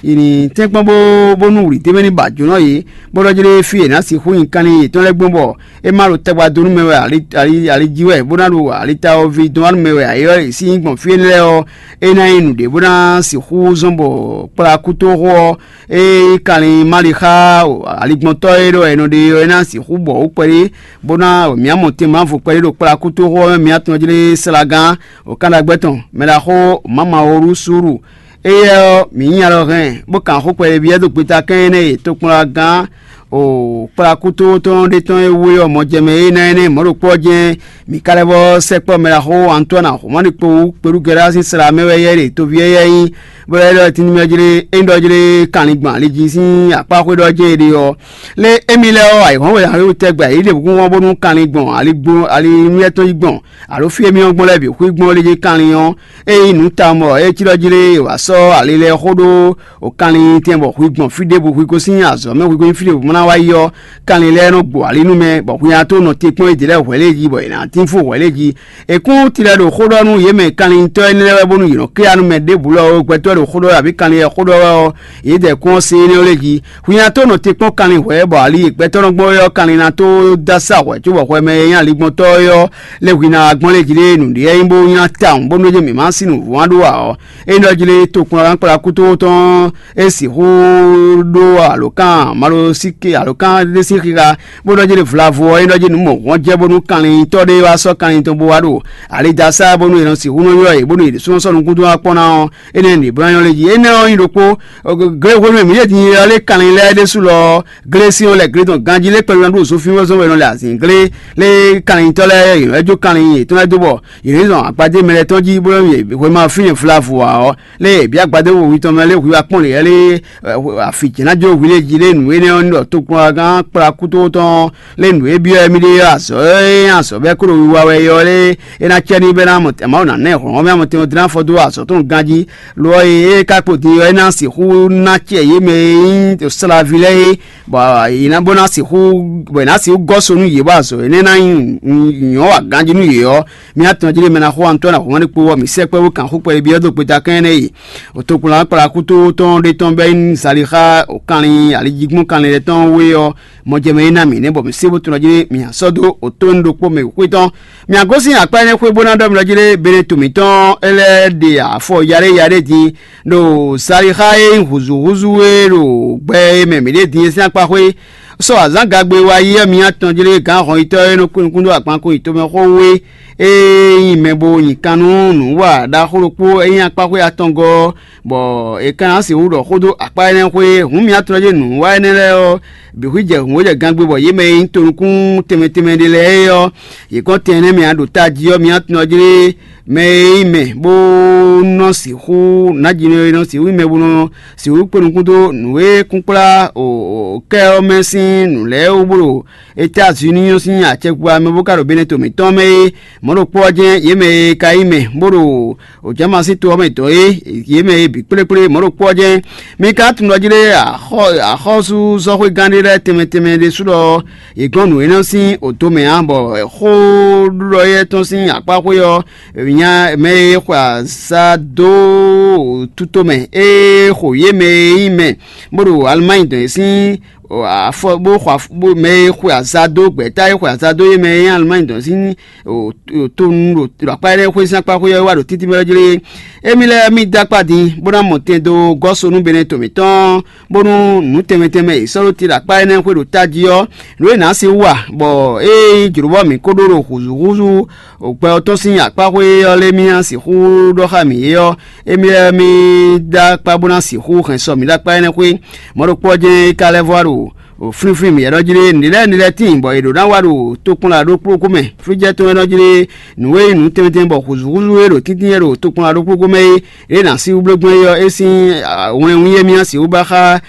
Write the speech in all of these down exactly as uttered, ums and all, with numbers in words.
Yě ní tɛ́nkpɔ́n bó bónú wlǐ d'é mɛ ní ba jǒnɔ yě, bó ɖɔ jlé fí è nǎ sixú nyi kanlin yětɔn lɛ́ɛ gbɔn bɔ é má ɖo tagba dó nú mɛ wɛ ali jí wɛ, bó ná ɖo alita ɔ́ ví dɔn wá nú mɛ wɛ ayǐ ɔ́, è sí nyí gbɔn fí énɛ́ lɛ́ɛ ɔ́, é ná nyí nǔɖé bó ná sixú zɔ́n bɔ kplá kútóxó ɔ́, ée nyí kanlin Malixa aligbɔntɔ́ e ɖɔ è nɔ ɖe ɔ́, é ná sixú bɔ wǔ kpɛɖé, bó ná mǐ mɔ tɛn mǎvo kpɛɖé ɖo kplá kútóxó ɔ́ mɛ, mǐ tunwun jlé Salagán, wǒkánɖagbɛ́ tɔn, mɛɖaxó Mamawolusúlu. Éyɛ́ ɔ́, mǐ nyí alɔ hɛn, bó kan xó kpɛɖé byɔ́ dó gbeta kɛn énɛ́ e tokpɔnlagán o kplakútótɔn ɖé tɔn e wú é ɔ́ mɔ jɛ mɛ é ná énɛ́ mɔ̌ ɖokpó ɔ́ jɛ́n. Mǐ ka lɛ́ vɔ́ sɛkpɔ́ mɛɖaxó Antoine Axɔmɔ́ni kpo wú kpelúgɛ́ɖá sín sla mɛ wɛ yɛ ɖe toví éyɛ́ nyí, bó lɛ́ ɖɔ tínúmɛ jlé é ɖɔ jlé kanlin gbɔn ali jí sín akpáxwé ɖɔ jɛ́n è ɖe ɔ́. Lé émí lɛ́ɛ ɔ́, ayǐhɔ́ngbe ǎ tɛgbɛ yě ɖe kúnkún bónú kanlin gbɔn ali gbo ali nú yɛ́ tɔn yi gbɔn, alo fí e mì ɔ́ gbɔn lɛ́ɛ bǐ xwí gbɔn lé jí kanlin ɔ́, ényí nǔ tawun bɔ é cí ɖɔ jí lé wǎ sɔ́ ali lɛ́ɛ xó ɖó o kanlin tɛn bɔ hwi gbɔn fí ɖěbǔ hwi gosín azɔ̌ mɛ hwi gosín fí ɖěbǔ bó ná wá yi ɔ́, kanlin lɛ́ɛ nɔ gbo ali nú mɛ, bɔ hwi ná tó nɔ te kpɔ́n yědɛɛ lɛ́ɛ hwɛ̌ lé jí, bɔ è nǎ tín fó hwɛ̌ lé jí. È kún tilɛ ɖo xó ɖɔ nú yě mɛ kanlintɔ́ énɛ́ lɛ́ɛ wɛ bónú yě nɔ ké ya nú mɛ ɖěbǔ lɔ ó, gbɛtɔ́ ɖo xó ɖɔ wɛ abǐ kanlin e xó ɖɔ wɛ ɔ́, yě dɛ kún ɔ́ se énɛ́ lé jí. Hwi ná tó nɔ te kpɔ́n kanlin hwɛ̌, bɔ ali e gbɛtɔ́ nɔ gbɔn é ɔ́, kanlin ná tó dó asá hwɛ̌ cóbɔ hwɛ mɛ e nyí aligbɔntɔ́ é ɔ́, lé hwi ná wá gbɔn lé jí lé nǔɖé nyí bó nylá tawun bónú é mǐ má sí nǔvɔ́n ɖó ǎ ɔ́, é ɖɔ jí lé tokplɔ́nkplɔ́ kútótɔn ɔ́, é sixú ɖó alǒkan malosíke alǒkan ɖé sín xixa, bó ɖɔ jí lé vlavo ɔ́, é ɖɔ jí nǔ mɔ̌hwɔ́n jɛ bónú kanlintɔ́ ɖé wá sɔ́ kanlin tɔn bó wá ɖo alidasá bónú è nɔ sixú nɔ ylɔ́ yě bónú yě ɖésúnɔ sɔ́ nukúndún wá kpɔ́n ná ɔ́, énɛ́ nǐ bló nyɔ́ lé jí. Énɛ́ ɔ́ nyí ɖokpó, glé hwenu e mǐ ɖe din ylɔ́ lé kanlin lɛ́ɛ ɖésú lɔ ɔ́, glé sín ɔ́ lɛ glé tɔn ganjí lé kpɛɖé ná ɖo zɔnfínwɔ́zɔn wɛ nɔ lɛ azǐnglé lé kanlintɔ́ lɛ́ɛ yě nɔ jó kanlin yětɔn lɛ́ɛ dó bɔ yě ní zɔn agbadé mɛ lɛ́ɛ tɔn jí bó nɔ́ yě hwemɛ fínɛ́ vlavo ǎ ɔ́, lé bǐ agbadé wowi tɔn mɛ lé hwi wá kpɔ́n lě lé afi jɛ̌ ná jó hwi lé jí lé nǔ énɛ́ ɔ́ ní ɖɔ tokpɔngán kplá kútótɔn lé nǔ e byɔ́ émí ɖe ɔ́, azɔ̌ e nyí azɔ̌ bɛ́ kó ɖo wiwa wɛ é ɔ́ lé é ná cɛ ní bɛ́ ná mɔ Mawu ná ná ɛ hlɔ̌nhlɔ́n mɛ amɔtɛn ɔ́ dó ná fɔ dó azɔ̌ tɔn ganjí. Lo ɔ́, e é ka kpo din ɔ́, é ná sixú ná acɛ yě mɛ e nyí Slavi lɛ́ɛ é, bɔ è nǎ bó ná sixú bɔ è nǎ sixú gɔ́ so nú yě, bɔ azɔ̌ énɛ́ ná nyí nyɔ̌ wa ganjí nú yě ɔ́, mì atɔn jí ɖé mɛ ná xo Antɔ́ni Ahɔ̌nmánni kpo ɔ́, mǐ sɛkpɔ́ bó kan xó kpɛɖé byɔ́ dó gbeta kɛ́n énɛ́ yi. Tokpɔnlán kplá kútótɔn ɖé tɔn bɛ́ nyí Zalixa kanlin alijígbɔ́n kanlin lɛ́ɛ tɔn wé ɔ́, mɔjɛmɛ e ná mǐ nɛ́ bɔ mǐ sé bó tunɔ jí mǐ sɔ́ dó òtónu ɖokpó mɛ wěxwé tɔn. Mǐ gosín akpá énɛ́ xwé bó ná ɖɔ mì ɖɔ jí lé Beneto mǐtɔn é lɛ́ ɖe afɔ yaɖéyaɖé din ɖo Zalixa e nyí hǔzúhúzú é ɖo gbɛ e mɛ mǐ ɖe din é sín akpá xwé. Sɔ azǎn gagbe wa yi ɔ́, mǐ atɔn jí lé gǎn hɔnyitɔ́ e nɔ kú nukún dó agbankún yětɔn mɛ xó wú é, e nyí mɛ bo nyi kan nú nǔwa ɖaxó ɖokpó e nyí akpáxwé atɔngɔ́ ɔ́, bɔ è ka ná sixú ɖɔ xó dó akpá énɛ́ xwé. Hǔn mǐ atɔn jí nǔwa énɛ́ lɛ́ɛ ɔ́ bǐ xwí jɛ hǔn e jɛ gangbé bɔ yě mɛ e nyí tonukún tɛnmɛ tɛnmɛ ɖé lɛ́ɛ é ɔ́, yě kɔn tɛn énɛ́ mɛ ǎ ɖo tají ɔ́, mǐ atɔn jí lé mɛ e nyí mɛ bó nɔ sixú nǎjinɔ e nɔ sixú nyí mɛ bó nɔ sixú kpé nukún dó nǔ e kún kplá kɛ ɔ́ mɛ sín nǔ lɛ́ɛ wú bó ɖo Etázuníi ɔ́ sín acɛkpikpa mɛ bó ka ɖo Beneto mǐtɔn mɛ é. Mɔ̌ ɖokpó ɔ́ jɛ́n yě mɛ e ka nyí mɛ bó ɖo Jǎmasin to ɔ́ mɛ dɔ̌n é, yě mɛ e bǐ kplékplé mɔ̌ ɖokpó ɔ́ jɛ́n. Mi ka tunwun ɖɔ jí lé axɔ́súzɔ́xwégán ɖé lɛ́ɛ tɛnmɛ tɛnmɛ ɖésú ɖɔ yě gɔ́n nǔ énɛ́ sín odomɛ ǎ, bɔ xóɖuɖɔ éyɛ́ tɔn sín akpáxwé ɔ́, nya mɛ e xwe azǎ dó tutomɛ e xo yě mɛ e nyí mɛ bó ɖo Alemayi dɔn é sín afɔ bó xɔ mɛ e xwe azǎ dó gbɛ̌ta e xwe azǎ dó yě mɛ e nyí Alemayi dɔn sín tonu ɖo akpá énɛ́ xwé sín akpá xwé ɔ́ wá ɖo títí mɛ ɔ́ jlé. Émí lɛ́ɛ mì dó akpá din bó ná mɔ tɛn dó gɔ́ so nú Beneto mǐtɔn, bónú nǔ tɛnmɛ tɛnmɛ e è sɔ́ ɖó te ɖo akpá énɛ́ xwé ɖo tají ɔ́, nǔ e nǎ sixú wa, bɔ ée nyí jlǒ bɔ mǐ ko ɖó ɖo hǔzúhúzú gbɛ ɔ́ tɔn sín akpá xwé ɔ́ lé mì ná sixú ɖɔ xá mǐ é ɔ́, émí lɛ́ɛ mì dó akpá bó ná sixú hɛn sɔ mǐ ɖó akpá énɛ́ xwé. Mɔ̌ ɖokpó ɔ́ jɛ́n é ka lɛ́ vɔ wá ɖo flínflín mǐ ɖɔ jí ɖé nǔɖé lɛ́ɛ nǔɖé lɛ́ɛ tíin bɔ è ɖǒ ná wa ɖo tokpɔnla ɖokpó ɖokpó mɛ. Flíjɛ́ tɔn wɛ nɔ jí ɖé nǔ e nyí nǔ tɛnmɛ tɛnmɛ bɔ hǔzúhúzú e ɖo tíntín wɛ ɖo tokpɔnla ɖokpó ɖokpó mɛ é, ɖě ná sí wúblógbɔn é ɔ́, é sín wlɛnwún e mì ná sixú ba xá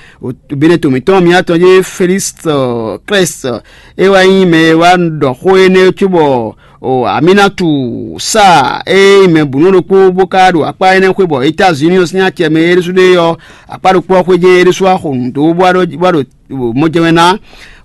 Beneto mǐtɔn mǐ atɔn jí Félíksɩ Klɛ́sɩ é wá nyí mɛ e wá ɖɔ xó énɛ́ cóbɔ Aminatu Sáa e nyí mɛ bǔnú ɖokpó bó ka ɖo akpá énɛ́ xwé bɔ Etázuníi ɔ́ sín acɛ mɛ é ɖésú ɖe ɔ́, akpá ɖokpó ɔ́ xwé jɛ́n é ɖésú wá xo nǔ dó bó wá ɖo mɔjɛmɛ ná.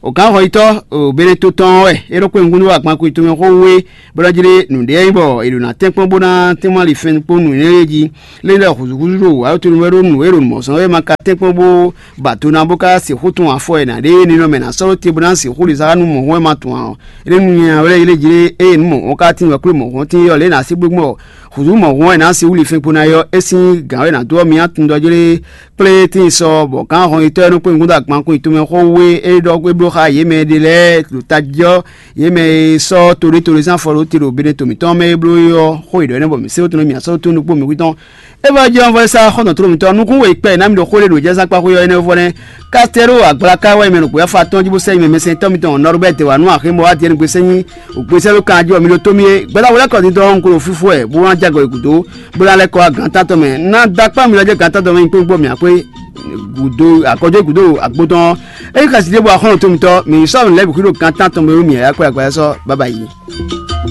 O gǎn xɔyitɔ́ Benɛto tɔn ɔ́ wɛ é ɖo kpé nukúnnú wá gban kú tomɛ xó wé, bó ná jlé nǔɖé e nyí bɔ è ɖo ná tɛ́nkpɔ́n bó ná tɛ́nmɔ ali fɛn kpó nǔ énɛ́ lɛ́ɛ jí. Lé lɛ́ hǔzúhúzú ɖo wǎ tonu wɛ ɖó nǔ e ɖo nǔ mɔ̌sɔn wɛ ma ka tɛ́nkpɔ́n bó ba do ná bó ka sixú tun afɔ e nǎ ɖe ninɔmɛ ná sɔ́ ɖó te bó ná sixú ɖe zá nú mɔ̌hun wɛ ma tun ǎ ɔ́. É ɖo nú nya wɛ lɛ́ jlé eye nǔ mɔ̌hun ka tín wɛ kplé mɔ̌hun tín ɔ́ lě ná sí gbégbɔn hǔzú mɔ̌hun wɛ ná sí wúli fɛn kpo ná yɔ é sín gǎn wɛ ná dó ɔ́ mi ná tun ɖɔ jlé kplé tíin sɔ bɔ gǎn hɔn yitɔ́ e nɔ kpé nukún dó agban kún nyi tomɛ xó wé é ɖɔ é bló xá yě mɛ ɖé lɛ́ɛ ɖo tají ɔ́, yě mɛ e sɔ́ toɖétoɖé sín afɔ ɖó te ɖo Beneto mǐtɔn mɛ é bló é ɔ́, xó yě ɖɔ énɛ́ bɔ mǐ sé wótɔn mǐ sɔ́ tó nukpó mǐ xwítɔn. É vɔ jɛ ɔ́ vɔ é sá xɔ́ntɔn tló mǐtɔn nukún wěkpɛ ná mi ɖo xó ɖé ɖo jɛ́sán kpáxwé ɔ́ énɛ́ vɔ nɛ́. Kastɛ́ro agblaka wɛ mɛ ɖo gběfá tɔn jí bó sɛ́ nyi mɛ mɛsɛntɔ́ mitɔn Nɔrubɛ́ti wǎ nú axé mɔ wá Diɛ́nu gbesɛ́ nyi ògbésɛ́ ɖó kanjí ɔ́ mi ɖó tó mì é. Gbɛ́dáwó lɛ́ kɔ dindɔn un ko ɖo fífú wɛ bó wá jágɔ yi gǔdo, bó ná lɛ́ kɔ wá gǎntántɔn mɛ. Ná dó akpá mi lɔ jɛ gǎntántɔn mɛ nyi kpóngbó mǐ akwé gǔdo akɔjɔ́ gǔdo agbo tɔn ɔ́. É nyí xɛsi ɖěbǔ axɔ́nɔ tomitɔ mǐ sɔ́ nǔ lɛ́ɛ bǐ xwí ɖo gǎntántɔn mɛ wú mǐ yǎyá kpé agbadá sɔ́ bábá yi.